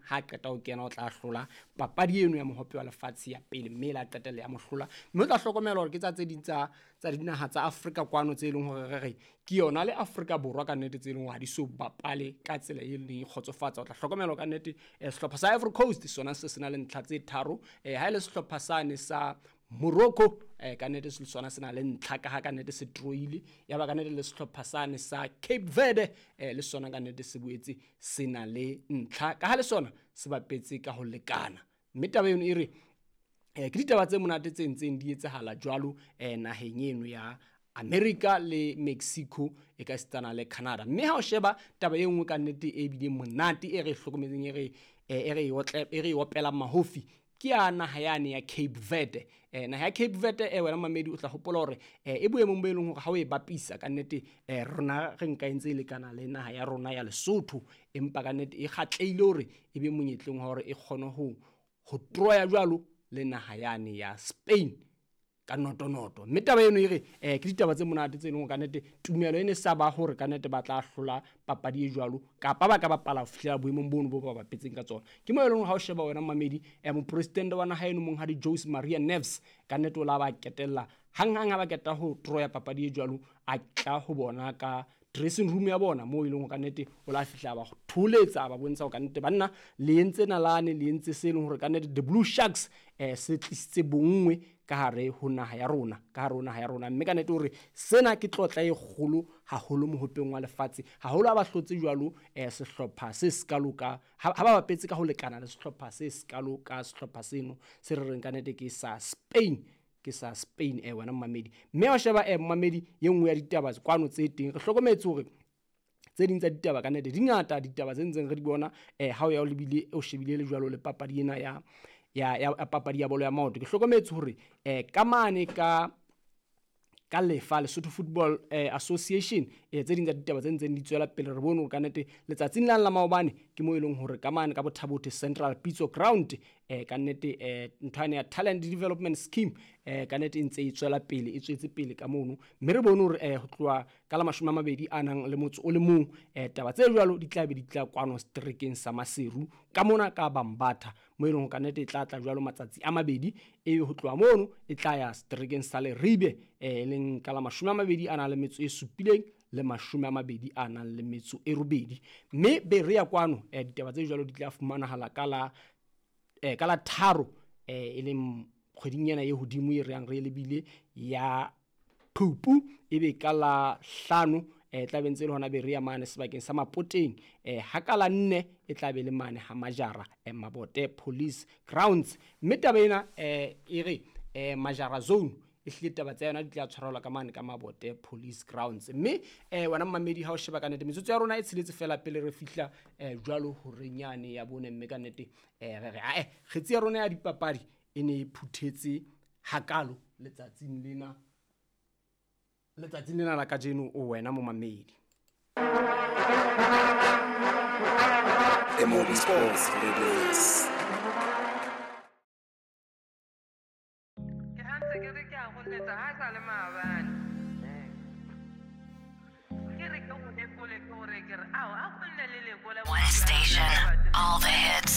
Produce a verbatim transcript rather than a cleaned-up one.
Ha qeta ho kena o tla hlola papadi eno ya mohope wa lefatshe ya pele, mme la qetella ya mohlola. Mme o tla hlokomela hore ke tsa tse ding tsa tsa dinaha tsa Afrika kwano tse leng hore re re ke yona le Afrika Borwa ka nnete, tse leng hore ha di so bapale ka tsela e leng e kgotsofatsa. O tla hlokomela ka nnete eh, sehlopha sa Ivory Coast sona se se na le ntlha tse tharo, eh, ha e le sehlopha sane sa Morocco eh, ka nnete se sona se na le ntlha ka ha ka nnete se troile. Ya ba ka nnete le sehlopha sane sa Cape Verde eh, le sona ka nnete se boetse se na le ntlha ka ha le sona se bapetse ka ho lekana. Mme taba eno e re eh, ke ditaba tse monate tse ntseng di etsahala jwalo eh, naheng eno ya America le Mexico e ka sitana le Canada. Mme ha o sheba taba e nngwe ka nnete e bileng monate e re hlokometseng, e re e re otle e re opelang mahofi, ke ya naha yane ya Cape Verde. Eh, naha ya Cape Verde eh, wena mamedi o tla hopola hore eh, e boemong bo e leng hore ha o e bapisa ka nnete eh, rona re nka e ntse e lekana le naha ya rona ya Lesotho, empa ka nnete e kgatlehile hore e be monyetleng wa hore e kgone ho ho troya jwalo le naha yane ya Spain ka noto-noto. Mme taba eno e re eh, ke ditaba tse monate tse leng hore ka nnete tumelo e ne sa ba hore ka nnete ba tla hlola papadi e jwalo kapa ba ka bapala ho fihlela boemong bono bo ba bapetseng ka tsona. Ke mo e leng hore ha o sheba wena mamedi eh, mopresidente wa naha eno monghadi Jose Maria Neves ka nnete o la ba ketella hanghang ha ba keta ho troya papadi e jwalo, a tla ho bona ka dressing room ya bona moo e leng hore ka nnete o la fihla ba tholetsa ba bontsha hore ka nnete banna le entse nalane, le entse se leng hore ka nnete the Blue Sharks eh, se tlisitse bonngwe ka hare ho naha ya rona, ka hare ho naha ya rona. Mme ka nnete hore sena ke tlotla e kgolo haholo mohopeng wa lefatshe, haholo ha ba hlotse jwalo eh, sehlopha se sekalo ka ha ba bapetse ka ho lekana le sehlopha se sekalo ka sehlopha seno se re reng ka nnete ke sa Spain, ke sa Spain eh wena mmamedi. Mme wa sheba eh mmamedi ye nngwe ya ditaba kwano tse teng, re hlokometse hore tse ding tsa ditaba ka nnete di ngata, ditaba tse ntseng re di bona eh ha o ya o lebile o shebile le jwalo le papadi ena ya ya ya papadi ya bolo ya maoto. Ke hlokometse hore eh ka mane ka ka lefa Lesotho Football eh, Association eh, tse ding tsa ditaba tse ntseng di tswela pele, re bone hore ka nnete letsatsing la la maobane ke mo e leng hore ka mane ka Bothabothe Central Pitso Ground eh, ka nnete eh, ntho yane ya Talent Development Scheme eh, ka nnete e ntse e tswela pele, e tswetse pele ka mono. Mme re bone hore eh, ho tloha ka la mashome a mabedi a nang le motso o le mong eh, taba tse jwalo di tla be di tla kwano seterekeng sa Maseru ka mona ka Bambatha mo e leng hore ka nnete e tla tla jwalo matsatsi a mabedi, ebe ho tloha mono e tla ya seterekeng sa Leribe eh, e leng ka la mashome a mabedi a nang le metso e supileng le mashome a mabedi a nang le metso e robedi. Mme be re ya kwano eh, ditaba tse jwalo di tla fumanahala ka la eh, ka la tharo eh, e leng kgweding ena e hodimo e re yang re lebile ya Phupu, ebe ka la hlano eh tla be ntse le hona be re ya mane sebakeng sa Mapoteng, eh ha ka la nne e tla be le mane ha Majara eh, Mabote Police Grounds. Mme taba ena eh e re eh Majara Zone e hlile taba tsa yona di tla tshwarelwa ka mane ka Mabote Police Grounds. Mme eh wena mmamedi ha o sheba ka nnete metsotso ya rona e tsheletse fela pele re fihla eh jwalo horeng yane ya bone. Mme ka nnete eh re re ae kgetsi ya rona ya dipapadi e ne e phuthetse hakalo letsatsing lena letsatsing lena la kajeno o wena momamedi. M O B Sports Radio. One station, all the hits.